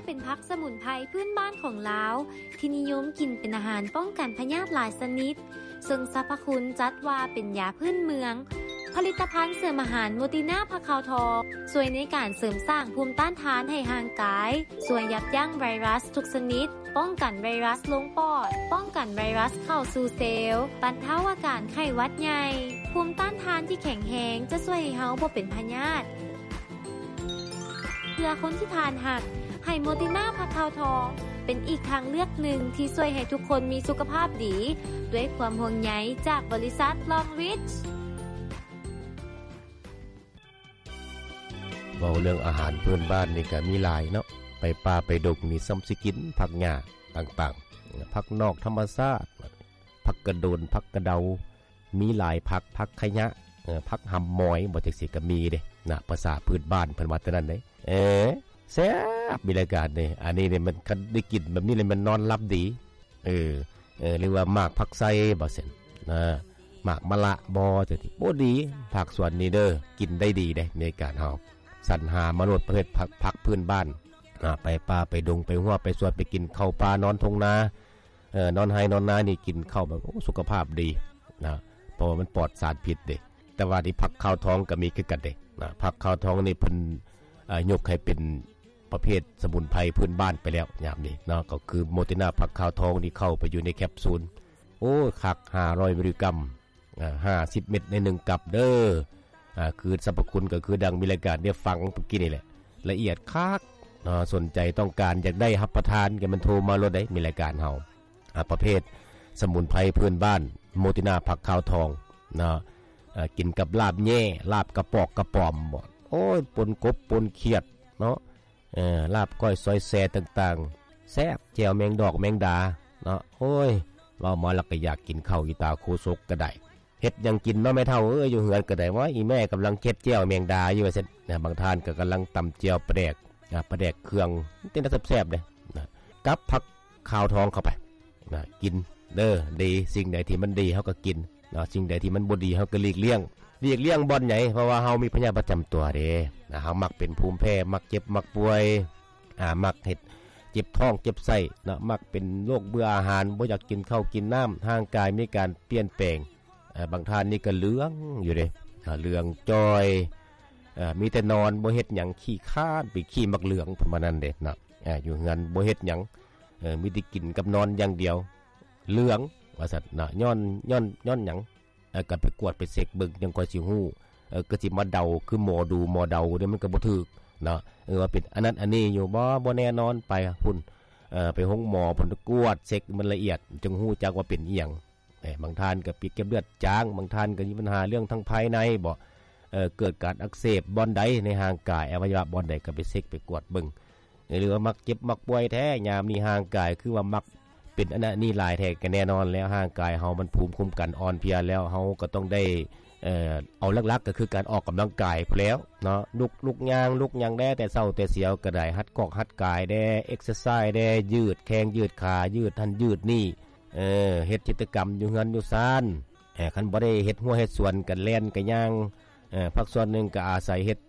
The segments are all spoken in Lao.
ເປັນຜັກສະໝຸນໄພພື້ນບ້ານຂອງລາວ ທີ່ນິຍົມກິນເປັນອາຫານປ້ອງກັນພະຍາດຫຼາຍຊະນິດ, ເຊິ່ງສັບພະຄຸນຈັດວ່າເປັນຢາພື້ນເມືອງ. ຜະລິດຕະພັນເສີມອາຫານໂມຕິນາຜັກຂາວທອງ ຊ່ວຍໃນການເສີມສ້າງພູມຕ້ານທານໃຫ້ຮ່າງກາຍ, ຊ່ວຍຢັບຢັ້ງໄວຣັສທຸກຊະນິດ, ປ້ອງກັນໄວຣັສລົງປອດ, ປ້ອງກັນໄວຣັສເຂົ້າສູ່ເຊວ, ບັນເທົາອາການໄຂ້ຫວັດໃຫຍ່. ພູມຕ້ານທານທີ່ແຂງແຮງຈະຊ່ວຍໃຫ້ເຮົາບໍ່ເປັນພະຍາດ. ເພື່ອຄົນທີ່ທ່ານຮັກ, ໃຫ້ໂມຕິນາຜັກຂາວທອງ ເປັນອີກທາງເລືອກໜຶ່ງທີ່ຊ່ວຍໃຫ້ທຸກຄົນມີສຸຂະພາບດີ ດ້ວຍຄວາມຫ່ວງໃຍຈາກບໍລິສັດ Long Reach. ເວົ້າເລື່ອງອາຫານພື້ນບ້ານນີ້ກະມີຫຼາຍເນາະ, ໄປປ່າໄປດົງນີ້ສ່ຳຊິກິນຜັກຫຍ້າຕ່າງໆ, ຜັກນອກທຳມະຊາດ, ຜັກກະໂດນ, ຜັກກະເດົາ, ມີຫຼາຍຜັກ, ຜັກຂະຍະ, ເອີ ຜັກຫຳມອຍ ບໍ່ ຈັ່ງຊີ້ກໍມີເດ້ນະ, ພາສາພື້ນບ້ານເພິ່ນວ່າແຕ່ນັ້ນເດ້. ເອີ ແຊບ ມີລາຍການເດ້. ອັນນີ້ນີ້ມັນ ຄັນໄດ້ກິນແບບນີ້ແລ້ວມັນນອນຫຼັບດີ. ເອີ ເອີ ຫຼືວ່າໝາກຜັກໄຊບໍ່ຊັ້ນນະ, ໝາກມະລະບໍ່ ຈັ່ງຊີ້. ໂອ້ ດີ ພາກສວນນີ້ເດີ ກິນໄດ້ດີເດ້ ໃນການເຮົາສັນຫາມາໂລດ ປະເພດຜັກ ຜັກພື້ນບ້ານນະ, ໄປປ່າໄປດົງ ໄປຮົ້ວໄປສວນ ໄປກິນເຂົ້າປ່ານອນທົ່ງນາ. ເອີ ນອນໄຮ່ນອນນານີ້ກິນເຂົ້າແບບ ໂອ້ ສຸຂະພາບດີນະ, ເພາະວ່າມັນປອດສານພິດເດ້. ແຕ່ວ່າທີ່ຜັກຂາວທອງກໍມີຄືກັນເດ້ນະ, ຜັກຂາວທອງນີ້ເພິ່ນ ເອີ ຍົກໃຫ້ເປັນປະເພດສະໝຸນໄພພື້ນບ້ານໄປແລ້ວຍາມນີ້ເນາະ, ກໍຄືໂມຕິນາຜັກຂາວທອງນີ້ເຂົ້າໄປຢູ່ໃນແຄບຊູນ. ໂອ້ ຄັກ ຫ້າຮ້ອຍມິນລິກຣາມ ອ່າ ຫ້າສິບເມັດໃນໜຶ່ງກັບເດີ. ອ່າ ຄືສັບພະຄຸນກໍຄືດັ່ງມີລາຍການໄດ້ຟັງເມື່ອກີ້ນີ້ແຫຼະ, ລະອຽດຄັກເນາະ. ສົນໃຈຕ້ອງການຢາກໄດ້ຮັບປະທານ ກໍແມ່ນໂທມາໂລດເດ້ ມີລາຍການເຮົາ. ອ່າ ປະເພດສະໝຸນໄພພື້ນບ້ານ ໂມຕິນາຜັກຂາວທອງເນາະ, ເອີ ກິນກັບລາບແຍ່ ລາບກະປອກກະປອມບໍ ໂອ້ຍ ປົນກົບປົນຂຽດເນາະ. ເອີ ລາບກ້ອຍຊອຍແຊຕ່າງໆ ແຊບ, ແຈ່ວແມງດອກແມງດາເນາະ. ໂອ້ຍ ເວົ້າມາແລ້ວກໍຢາກກິນເຂົ້າອີ່ຕາໂຄສົກກໍໄດ້. ເຮັດຫຍັງກິນເນາະແມ່ເຖົ້າເອີຍ ຢູ່ເຮືອນກໍໄດ້. ວ່າອີ່ແມ່ກຳລັງເຮັດແຈ່ວແມງດາຢູ່ ວ່າຊັ້ນນະ. ບາງທ່ານກໍກຳລັງຕຳແຈ່ວປາແດກ ອ່າ ປາແດກເຄື່ອງ ເປັນຕາແຊບໆເດ້ນະ, ກັບຜັກຂາວທອງເຂົ້າໄປນະ ກິນເດີ. ດີ ສິ່ງໃດທີ່ມັນດີເຮົາກໍກິນ ເນາະ, ສິ່ງໃດທີ່ມັນບໍ່ດີເຮົາກໍຫຼີກລ່ຽງ. ຫຼີກລ່ຽງບ່ອນໃດ? ເພາະວ່າເຮົາມີພະຍາດປະຈຳຕົວເດ້ນະ, ເຮົາມັກເປັນພູມແພ້, ມັກເຈັບ, ມັກປ່ວຍ, ອ່າ ມັກເຮັດເຈັບທ້ອງເຈັບໄສ້ເນາະ, ມັກເປັນໂລກເບື່ອອາຫານ, ບໍ່ຢາກກິນເຂົ້າກິນນ້ຳ, ຮ່າງກາຍມີການປ່ຽນແປງ. ເອີ ບາງທ່ານນີ້ກໍເຫຼືອງຢູ່ເດ້, ເຫຼືອງຈ່ອຍ, ເອີ ມີແຕ່ນອນ, ບໍ່ເຮັດຫຍັງ, ຂີ້ຄ້ານ, ໄປຂີ້ໝາກເຫຼືອງ ເພິ່ນວ່ານັ້ນເດ້ເນາະ. ເອີ ຢູ່ເຮືອນບໍ່ເຮັດຫຍັງ, ເອີ ມີແຕ່ກິນກັບນອນຢ່າງດຽວ, ເຫຼືອງວ່າຊັ້ນເນາະ. ຍ້ອນ ຍ້ອນ ຍ້ອນຫຍັງ? ເອີ ກໍໄປກວດໄປເຊັກເບິ່ງ ຈັ່ງຄ່ອຍຊິຮູ້. ເອີ ກໍຊິມາເດົາ ຄືໝໍດູໝໍເດົານີ້ ມັນກໍບໍ່ຖືກເນາະ. ເອີ ວ່າເປັນອັນນັ້ນອັນນີ້ຢູ່ບໍ່? ບໍ່ແນ່ນອນ, ໄປພຸ້ນ, ເອີ ໄປໂຮງໝໍພຸ້ນ, ກວດເຊັກມັນລະອຽດ ຈຶ່ງຮູ້ຈັກວ່າເປັນອີ່ຫຍັງ. ເອີ ບາງທ່ານກໍເປັນເກັດເລືອດຈາງ, ບາງທ່ານກໍມີບັນຫາເລື່ອງທາງພາຍໃນບໍ, ເອີ ເກີດການອັກເສບບ່ອນໃດໃນຮ່າງກາຍ, ອະໄວຍະວະບ່ອນໃດ ກໍໄປເຊັກໄປກວດເບິ່ງ. ຫຼືວ່າມັກເຈັບມັກປ່ວຍແທ້ ຍາມນີ້ຮ່າງກາຍຄືວ່າມັກເປັນອັນນັ້ນອັນນີ້ຫຼາຍແທ້, ກໍແນ່ນອນແລ້ວ ຮ່າງກາຍເຮົາມັນພູມຄຸ້ມກັນອ່ອນເພຍແລ້ວ, ເຮົາກໍຕ້ອງໄດ້ ເອີ ເອົາຫຼັກໆກໍຄືການອອກກຳລັງກາຍພຸ້ນແລ້ວເນາະ. ລຸກ ລຸກຍ່າງ ລຸກຫຍັງແດ່ ແຕ່ເຊົ້າແຕ່ສຽວກໍໄດ້, ຮັດກອກຮັດກາຍແດ່, ເອັກເຊີໄຊແດ່, ຢືດແຂ້ງຢືດຂາ, ຢືດຫັ້ນຢືດນີ້, ເອີ ເຮັດກິດຈະກຳຢູ່ເຮືອນຢູ່ຊານ. ເອີ ຄັນບໍ່ໄດ້ເຮັດຮົ້ວເຮັດສວນ ກໍແລ່ນກໍຍ່າງ. ເອີ ພາກສ່ວນໜຶ່ງກໍອາໄສເຮັດ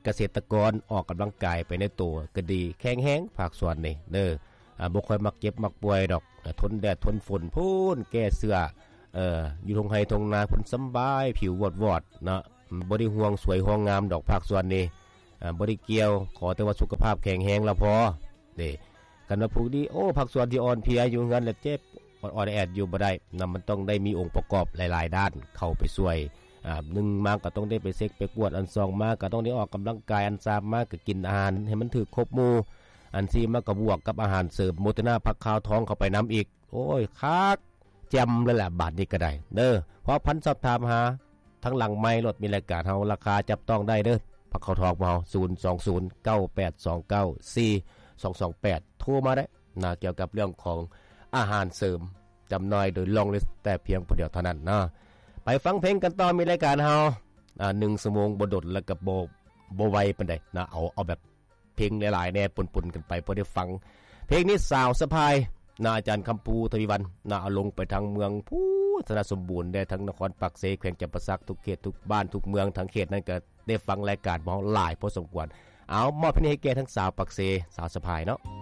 ກະເສດຕະກອນອອກກຳລັງກາຍໄປໃນໂຕກໍດີ, ແຂງແຮງພາກສ່ວນນີ້ເດີ. ອ່າ ບໍ່ຄ່ອຍມັກເຈັບມັກປ່ວຍດອກ, ອ່າ ທົນແດດທົນຝົນພຸ້ນ, ແກ້ເສື້ອ, ເອີ ຢູ່ທົ່ງໄຮ່ທົ່ງນາພຸ້ນສຳບາຍ, ຜິວວອດໆເນາະ, ບໍ່ໄດ້ຫ່ວງສວຍຫ່ວງງາມດອກພາກສ່ວນນີ້. ອ່າ ບໍ່ໄດ້ກ່ຽວ, ຂໍແຕ່ວ່າສຸຂະພາບແຂງແຮງລະພໍເດ້. ຄັນວ່າຜູ້ນີ້ ໂອ້ ພາກສ່ວນທີ່ອ່ອນເພຍ ຢູ່ເຮືອນລະເຈັບ ອອດໆແອດໆຢູ່ບໍ່ໄດ້ນະ, ມັນຕ້ອງໄດ້ມີອົງປະກອບຫຼາຍໆດ້ານເຂົ້າໄປຊ່ວຍ. ອ່າ ໜຶ່ງມາກໍຕ້ອງໄດ້ໄປເຊັກໄປກວດ, ອັນສອງມາກໍຕ້ອງໄດ້ອອກກຳລັງກາຍ, ອັນສາມມາກໍກິນອາຫານໃຫ້ມັນຖືກຄົບໝູ່, ອັນສີ່ມາກໍບວກກັບອາຫານເສີມໂມເຕີນາຜັກຂາວທອງເຂົ້າໄປນຳອີກ. ໂອ້ຍ ຄັກແຈ່ມເລີຍລະ ບາດນີ້ກໍໄດ້ເດີ. ເວົ້າພັນສອບຖາມຫາ ທາງຫຼັງໄມໂລດ, ມີລາຍການເຮົາ ລາຄາຈັບຕ້ອງໄດ້ເດີ. ພັກເຂົ້າທອກພວກເຮົາ ສູນສອງສູນ ເກົ້າແປດສອງເກົ້າ ສີ່ສອງສອງແປດ ໂທມາໄດ້ນະ, ກ່ຽວກັບເລື່ອງຂອງອາຫານເສີມ ຈຳໜ່າຍໂດຍ Long List ແຕ່ພຽງຜູ້ດຽວເທົ່ານັ້ນເນາະ. ໄປຟັງເພງກັນຕໍ່, ມີລາຍການເຮົາ ອ່າ ໜຶ່ງຊົ່ວໂມງບໍ່ດົນ ແລ້ວກໍບໍ່ ບໍ່ໄວປານໃດນະ, ເອົາ ເອົາແບບ ເພງຫຼາຍໆແດ່ ປົນໆກັນໄປ ພໍໄດ້ຟັງ. ເພງນີ້ສາວສະພາຍນະ ອາຈານຄຳພູ ທະວີວັນນະ, ເອົາລົງໄປທາງເມືອງພູນ ຊະນະສົມບູນແດ່, ທາງນະຄອນປາກເຊ, ແຂວງຈຳປາສັກ, ທຸກເຂດ ທຸກບ້ານ ທຸກເມືອງ ທາງເຂດນັ້ນກໍໄດ້ຟັງລາຍການຂອງເຮົາຫຼາຍພໍສົມຄວນ. ເອົາ ມອບເພງນີ້ໃຫ້ແກ່ທັງສາວປາກເຊ ສາວສະພາຍເນາະ.